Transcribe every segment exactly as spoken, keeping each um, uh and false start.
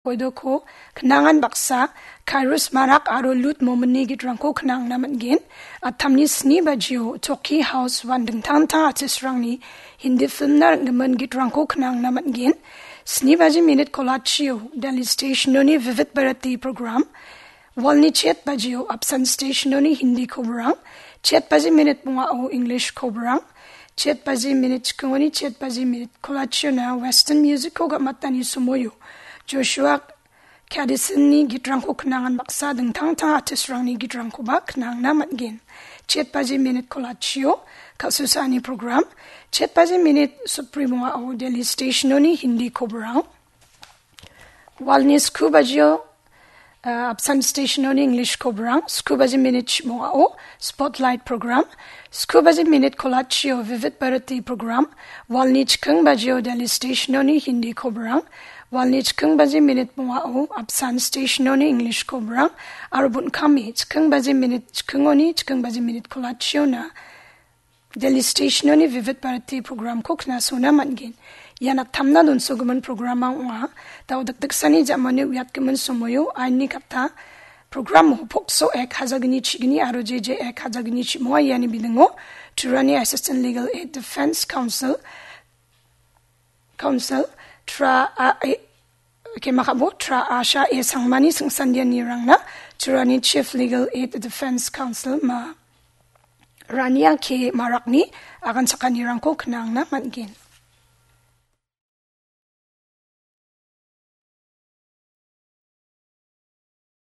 Koidoko knangan baksa, Kairos Marak aro Lut Mominni gitrangko knangna man·gen. Atamni sni bajio Toki House uan dingtang dingtang artistrangni Hindi filmna ring·gimin gitrangko knangna man·gen. Sni baji minit kolachio Delhi Stationoni Vividh Bharati program. Walni chet bajio Apsan Stationoni Hindi kobrang. Chet baji minit bongao English kobrang. Chet baji minit chikingoni chet baji minit kolachiona Western Musicko gam·atani somoio Joshua Kadisonni gitrangko knangan baksa dingtang dingtang artistrangni gitrangkoba knangna man·gen. Chet baji minit kolachio kal·susaani program. Chet baji minit sotbri bongao Delhi Stationoni Hindi kobrang. Walni sku bajio, uh, Apsan Stationoni English kobrang, sku baji minit bongao Spotlight program, sku baji minit kolachio Vividh Bharati program, walni chiking bajio Delhi Stationoni Hindi kobrang, walni chiking baji minit bongao Apsan Stationoni English kobrang, aro bon·kame chiking baji minit chikingoni chiking baji minit kolachiona Delhi Stationoni Vividh Bharati programko knasona man·gen. Ian attamna donsogimin programrang ong·a. Dao dikdiksani ja·mani uiatgimin somoio ainni katta programo Pokso ek hajagni chigni aro J J ek hajagni chimonga iani bidingo Trurani Assistant Legal Aid Defense Counsel, Counsel, Tra A, A, Kemakabo Tra Asha A Sangmani singsandianirangna Trurani Chief Legal Aid Defense Counsel ma Rania K Marakni aganchakanirangko knangna man·gen.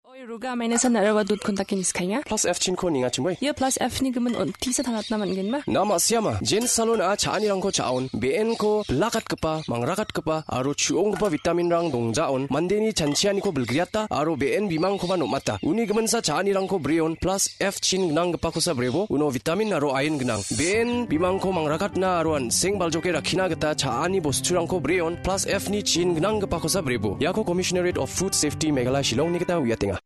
Oi, ruga maina san araba dut kontak kini skanya. Plus F chinko ninga chimoi. Ia plus F ni gimin on tisa tangatna man·gen ma? Na ma·siama, Jen Salon a cha·anirangko cha·on, B N ko bilakatgipa, mangrakatgipa, aro chu·onggipa vitaminrang dongjaon, mandeni chanchianiko bilgriata, aro B N bimangkoba nom·ata. Uni giminsa cha·anirangko breon, plus F chin gnanggipakosa brebo, uno vitamin aro iron gnang. B N bimangko mangrakatna aro an·seng baljoke rakkina gita cha·ani bosturangko breon, plus F ni chin gnanggipakosa brebo. Iako Commissionerate of Food Safety Meghalaya Shillongni gita uiatenga.